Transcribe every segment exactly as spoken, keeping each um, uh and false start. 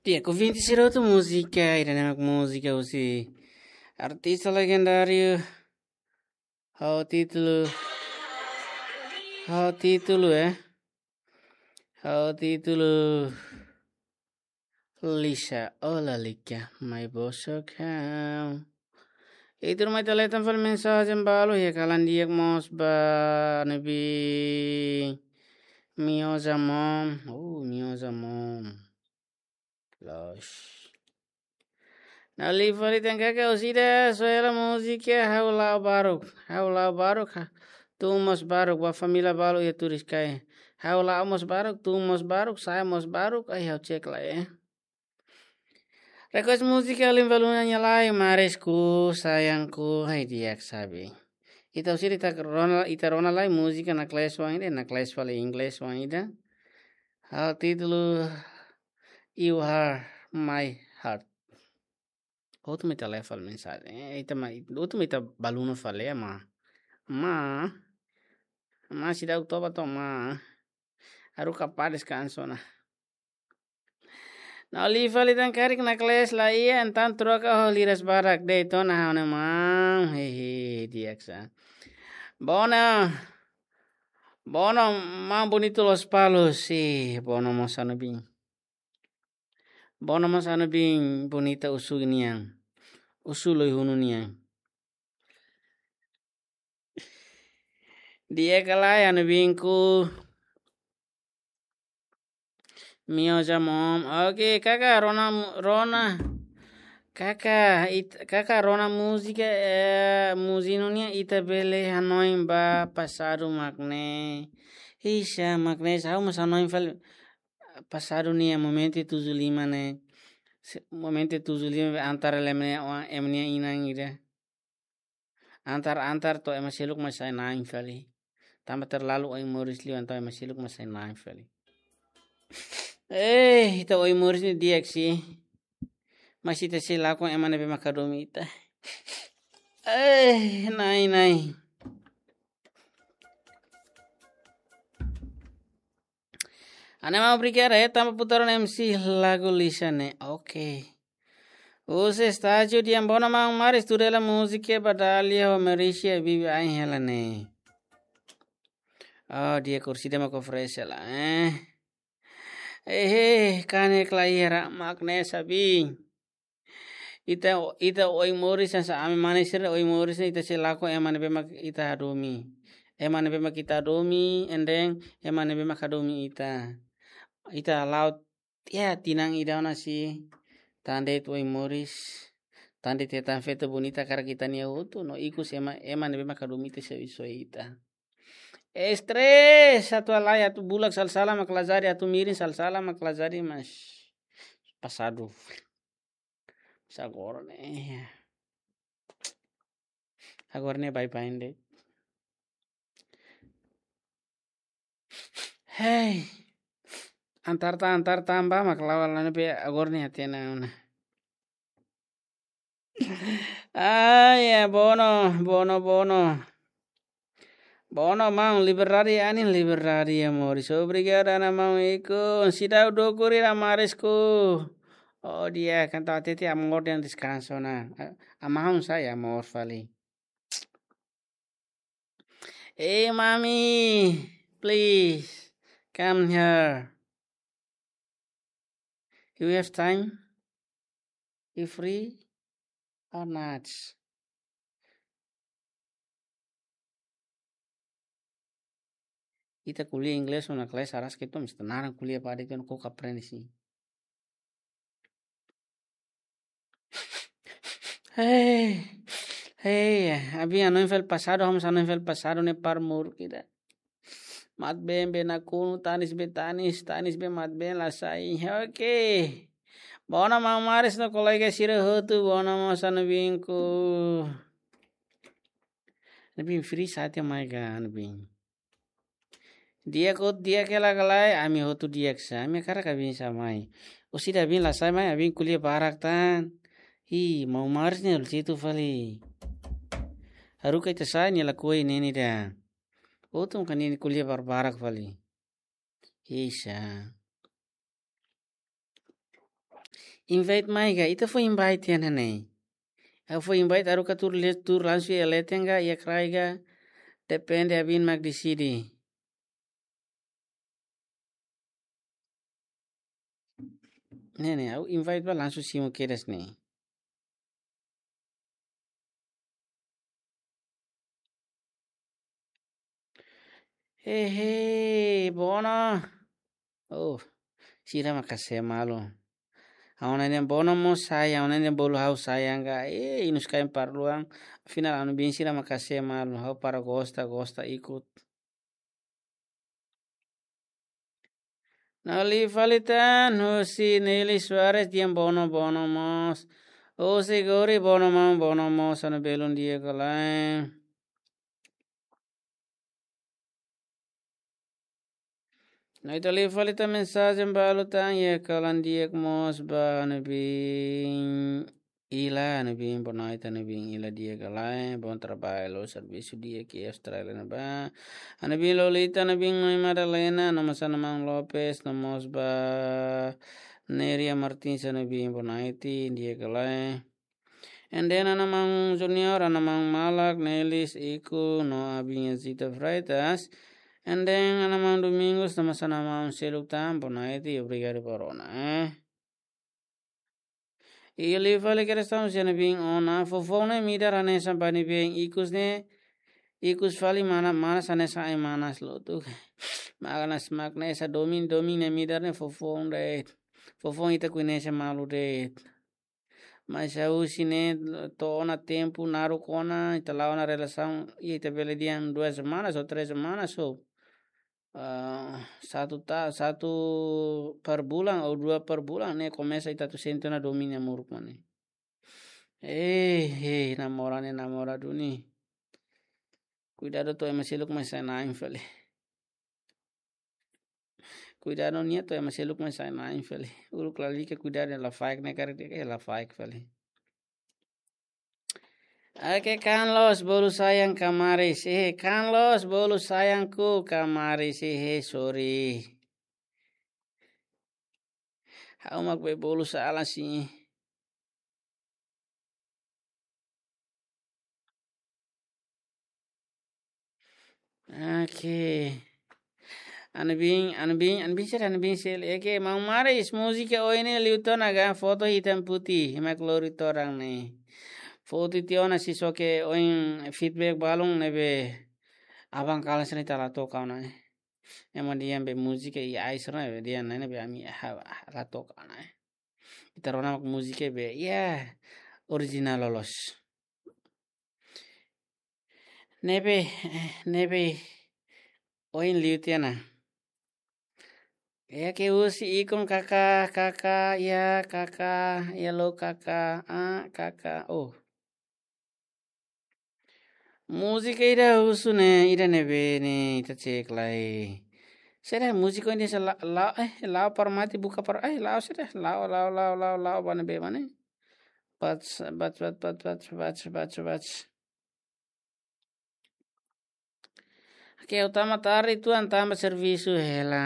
Di'ak, ouvinte sira hotu, múzika ida-ne'e mak múzika husi artista legendáriu. Ha'u títulu, ha'u títulu, eh. Ha'u títulu Lisa, oh lalika, mai bosok ha'u. Ita ruma ita leten fali mensajen balu, iha kalan di'ak mós ba ne'ebé Mioza Mom, oh Mioza Mom. Los. Na'in-lima fali tan kaka, orsida, só ela múzika, ha'u la'o baruk, ha'u la'o baruk, ha. Tun mós baruk, ba família balu iha Turiscai. Ha'u la'o mós baruk, tun mós baruk, sa'e mós baruk, ai ha'u cek lai, eh. Request múzika Alin Valuna nia lai, Marisku, Sayangku, ai di'ak sabi. Ita orsida ita rona, ita rona lai múzika naklees oan ida, naklees fali inglés oan ida. Ha'u títulu You Are My Heart. Hotu mai ita leten fali mensajen. Eh, ita mai, hotu mai ita balun fali, eh, ma. Ma. Ma seidauk toba to'o ma. Haruka pá deskansu ona. Na'in-lima fali tan karik naklees la iha, entaun troka ho liras barak de'it ona ha'u-nia maun. Hehe, di'ak sa. Bono. Bono, maun Bonito Lospalos, si, Bono mós Anubin. Bono mós Anubin, Bonita Usu nian. Usu Loihunu nian. Di'ak ka lae, Anubinku? Mioza Mom. Oke, kaka rona mu-, rona. Kaka, it-, kaka rona múzika, eh, Muzinu nian, ita bele hanoin ba pasadu mak ne'e. Ixa, mak ne'e, ha'u mós hanoin fali pasadu nian, momentu tujuh lima ne'e. Se-, momentu tujuh lima be antar ema ne'e, wa-, ema nia inan ida. Antar, antar to'o ema seluk mak sai na'in fali. Tanba terlalu oin moris liu, entaun ema seluk mak sai na'in fali. Eh, ita oin moris ne'e di'ak si. Mas ita sei lakon ema ne'ebé mak hadomi ita. Eh, na'in, na'in. Ana mau obrigada, eh, tanba putaran M C lagu Lisa ne'e. Oke. Husi estájiu dehan: Bono maun, Maris, tuir hela múzika ba Dália ho Merícia, bibi ain hela ne'e. Oh, di'ak, orsida mak oferese lai, eh. Eh, eh, kanek lai hera mak ne'e sabi. Ita, ita oin moris hanesan ami mane sira oin moris ne'e ita sei lakon ema ne'ebé mak ita hadomi. Ema ne'ebé mak ita hadomi, and then ema ne'ebé mak hadomi ita. Ita la'o tiha tinan ida ona si, tan de'it oin moris, tan de'it hetan feto bonita hakarak ita-nia hotu, no ikus ema, ema ne'ebé mak hadomi ita sei soe ita. Estrés, atu halai, atu bulak sala-sala mak la jadi, atu mirin sala-sala mak la jadi, mas pasadu. Mas agora ne'e. Agora ne'e baibain de'it. Hei. Antar ta, antar ta ba mak la'o la ne'ebé agora ne'e hatene ona. Ai, ya, Bono, Bono, Bono. Bono maun, liberdade anin, liberdade amor. Obrigadu, ana maun Iko. Seidauk dukur ida, Marisku. Oh, di'ak, entaun hatete amor dehan deskansu ona. A-, amaun sai amor fali. Hey, mommy, please, come here. You have time? You free or not? Ita ko'alia inglés ona kelas aras ke tom, ita naran ko'alia padi tu ko aprende si. Hei, hei, abin hanoin fali pasadu, ha'u mós hanoin fali pasadu ne'e par mur kita. Mat been be nakonu, tanis be tanis, tanis be mat been la sai. Oke. Bono maun Maris no kolega sira hotu, bono maun Anubinku. Anubin free saat ya mai ga Anubin. Di'ak hotu, di'ak hela ka lae, ami hotu di'ak sa, ami hakarak abin sai mai. Orsida abin la sai mai, abin ko'alia barak tan. Hi, maun Maris ne'e lucitu fali. Haruka ita sai nia lakohi ne'e ida. Hotu mak nia ko'alia barbarak fali. Hi sa. Invite mai ka, ita fó invite iha ne'e. Ha'u fó invite, haruka tuur le-, tuur langsung iha leten ka, iha kraik ka, depende, abin mak deside. Ne'e ne'e, ha'u invite ba langsung simu kedas ne'e. Hehe, Bono. Oh, sira maka se malu. Ha'u-nia Bono mós sayang, ha'u-nia bolu ha'u sayang ka. Eh, inus kain parluan. Afinál, anu bin sira maka se malu. Ha'u para gosta, gosta ikut. Nali fali tan, husi Nelly Suarez, di'ak Bono, Bono mós. Husi Gori, Bono maun, Bono mós, anu belun di'ak ka lae. No ita liu fali tan mensajen balu tan, iha kalan di'ak mós ba anu bin Ila, anu bin Bonaita, anu bin Ila di'ak ka lae, bom trabalho, servisu di'ak iha Austrália ne'ebá. Anu bin Lolita, anu bin Noi Madalena, no mós ana maun Lopes, no mós ba Neria Martins, anu bin Bonaiti, di'ak ka lae. And then ana maun Junior, ana maun Malak, Nelis, Iku, no abin Zita Freitas. And then ana maun Domingos, no mós ana maun seluk tan, Bonaiti, obrigadu ba rona, eh. I liu fali kedas tan husi anu bin Ona, fofoun ne'e midar hanesan ba anu bin ikus ne'e, ikus fali mana, manas hanesan ai-manas lotu. Manas mak hanesan domin, domin ne'e midar ne'e fofoun de'it. Fofoun ita koñese malu de'it. Mas ha'u husi ne'e to'o ona tempu naruk ona, ita la'o ona relasaun, i ita bele dehan duas semanas ou três semanas ou, ah, satu ta-, satu per bulan ou dua per bulan, ne'e komesa ita atu sente ona domin nia moruk mak ne'e. Eh, eh, namora ne'e namora duni. Kuidadu to'o ema seluk mai sai-na'in fali. Kuidadu nia to'o ema seluk mai sai-na'in fali. Uluk lalika kuidadu la faik ne'e karik dehan la faik fali. Oke, Carlos, bolu sayang kamaris. Eh, Carlos, bolu sayangku kamaris. Eh, sorry. Ha'u mak be bolu sala sin. Oke. Anu bin, anu bin, anu bin sira, anu bin sira. Oke, maun Maris, múzika ohin ne'e liu tiha ona ka, foto hitam putih, mak lori todan ne'e. Foto tiha ona, só que ohin feedback balun ne'ebé aban kalan sira ita la toka ona, eh. Ema dehan be múzika i ai sira be dehan ne'e be ami ha, ha, la toka ona, eh. Ita rona mak múzika be, ya, original loos. Ne'ebé, eh, ne'ebé, ohin liu tiha ona. Ya ke husi ikun kaka, kaka, ya kaka, ya lo kaka, ah, kaka, oh. Múzika ida husu ne'e, ida ne'ebé ne'e, ita cek lai. Saida múzika ida sa la, la, eh, la'o para mate buka para, eh, la'o saida, la'o, la'o, la'o, la'o, la'o, ba ne'ebé mak ne'e. Bats, bats, bats. Oke, ha'u tama tarde uitoan tanba servisu hela.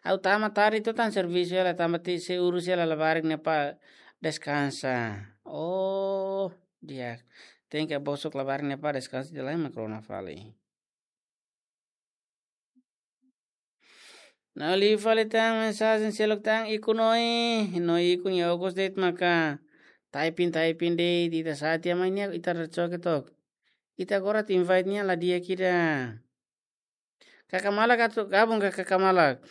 Ha'u tama tarde uitoan tanba servisu hela, tanba sei urus hela labarik ne'e para deskansa. Oh, di'ak. Tenke bosok labarik ne'e para deskansa, ida-ne'e mak rona fali. No liu fali tan mensajen seluk tan, Iku Noi, no Iku nia okos de'it maka typing, typing de'it, ita sa'e tiha mai nia, ita rai coke tok. Ita agora atu invite nia la di'ak ida. Kaka Malak atu gabung ka, Kaka Malak.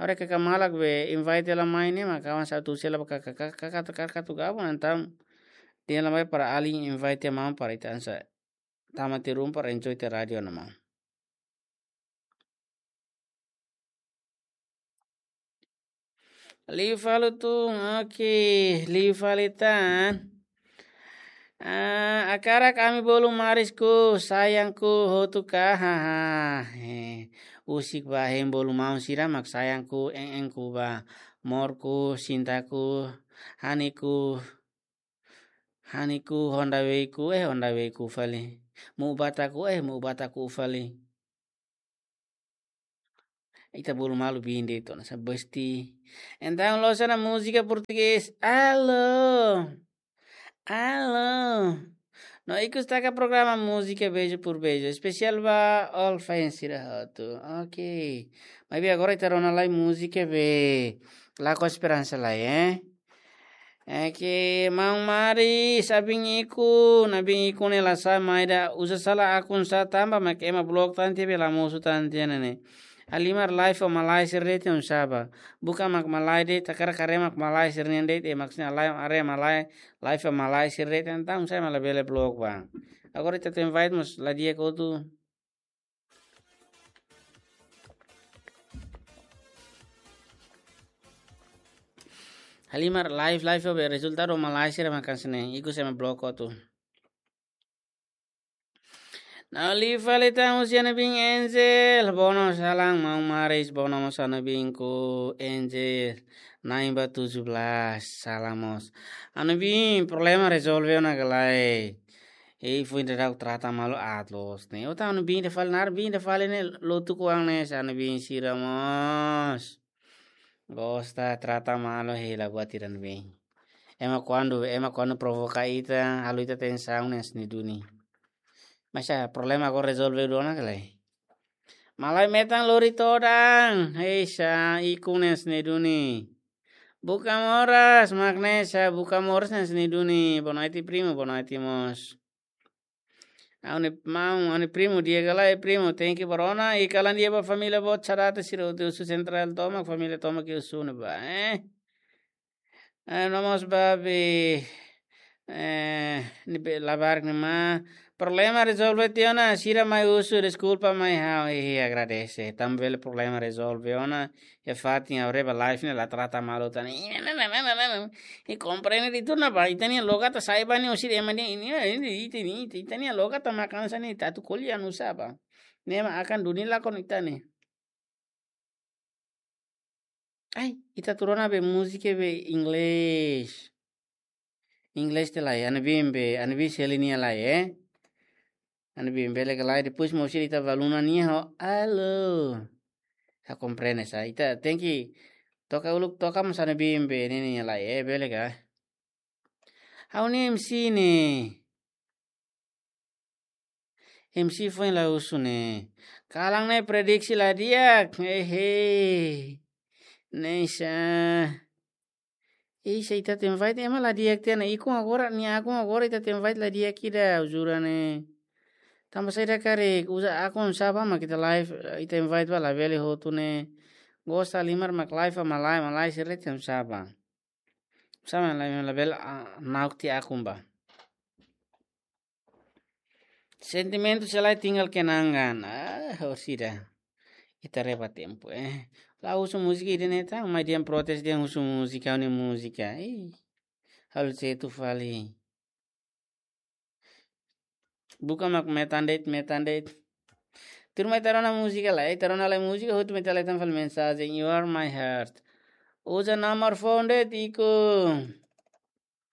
Agora Kaka Malak be invite hela mai ne'e, maka awan sa atu sela ba Kaka, Kaka, Kaka, Kaka atu gabung, entaun dehan la mai para alin invite maun para ita hanesan tama tiha ruma para enjoy tiha rádiu ona maun. Liu fali tun, oke, liu fali tan. Ah, hakarak ami bolu Marisku, sayangku, hotu ka, haha. Eh, husik ba hein bolu maun sira mak sayangku, en-enku ba, morku, sintaku, haniku, haniku, honda weiku, eh, honda weiku fali. Mu'ubataku, eh, mu'ubataku fali. Ita bolu malu biin de'it ona, sa besti. Entaun loos ona múzika portugés. Alô. Alô. No ikus taka programa múzika beijo por beijo. Espesiál ba all fans sira hotu. Ok. Maibé agora ita rona lai múzika be. La ko esperansa lai, eh? É que maun Mari, sabin iku, nabin iku ne'e la sa mai da uza sala akun sa tanba mak ema blok tan tiha be la mosu tan tiha ne'e. Halimar live ho malae sira de'it oinsá ba. Buka mak malae de'it, takara kare mak malae sira-nian de'it, e mak sina lai are malae, live ho malae sira de'it, entaun sai mak labele blok ba. Agora ita tenke invite mós la di'ak hotu. Halimar live, live ho be rezultadu malae sira mak hanesan ne'e, ikus ema blok hotu. Nau li fali tan husi Ana Bin Angel, bono salam maun Maris, bono mós Ana Bin ku Angel, na'in ba tujuh belas, salam mós. Ana Bin, problema rezolve ona ka lae? Ei, foin daudauk trata malu aat loos ne'e. Ota Ana Bin ida fali, nar Bin ida fali ne'e lotu kuang ne'e, sa Ana Bin sira mós. Gosta trata malu hela buat ida Ana Bin. Ema kuandu, ema kuandu provoka ita, halo ita tensaun ne'e hanesan ne'e duni. Mas sa problema agora rezolve duni ona ka lae? Malae metan lori todan, hei sa iku ne'e hanesan ne'e duni. Buka moras, mak ne'e sa buka moras ne'e hanesan ne'e duni, bonoite primu, bonoite mós. Ha'u-nia maun, ha'u-nia primu, di'ak ka lae primu, thank you ba rona, i kalan di'ak ba família boot sira atu sira husi sentrál tomak, família tomak ke husu ne'ebá, eh. Eh, no mós babi, eh, ne'ebé labarik ne'e mak, problema rezolve tiha ona, sira mai husu deskulpa mai ha'u, i agradese, tanba bele problema rezolve ona, iha fatin ha'u haree ba live ne'e la trata malu tan. I komprende di turna ba, ita-nia loga ta sai ba ne'e husi ema ne'e, ini, ini, ita, ini, ita, ita-nia loga ta makan sa ne'e, ita atu ko'alia nusá ba. Ne'e mak akan duni lakon ita ne'e. Ai, ita atu rona be múzika be inglés. Inglés tiha lai, Ana Bin be, Ana Bin Seli nia lai, eh. Ana Bin bele ka lae, depois mós ita ba Luna nia ho, alô. Sa komprende sa, ita tenke toka uluk toka mós Ana Bin be, ne'e nia lai, eh, bele ka. Ha'u-nia M C ne'e. M C foin la husu ne'e. Kalan ne'e prediksi la di'ak. Hehe. Ne'e sa. Ei, sa ita atu invite ema la di'ak tiha ona. Ikun agora, nia akun agora ita atu invite la di'ak ida, jura ne'e. Tanba saida karik, uza akun sá ba mak ita live, ita invite ba labele hotu ne'e. Gosta halimar mak live ho malae, malae sira de'it oinsá ba. Sama la, labele, ah, nauk tiha akun ba. Sentimentu selae tinggal kenangan. Ah, orsida. Ita haree ba tempu, eh. La husu múzika ida ne'e tan, mai dehan protes dehan husu múzika, ha'u-nia múzika. Ih, halo setu fali. Buka mak metan de'it, metan de'it. Tuirmai ita rona múzika lai, ita rona lai múzika, hotu mai ita leten fali mensajen, You are my heart. Uza nomor phone de'it, iku.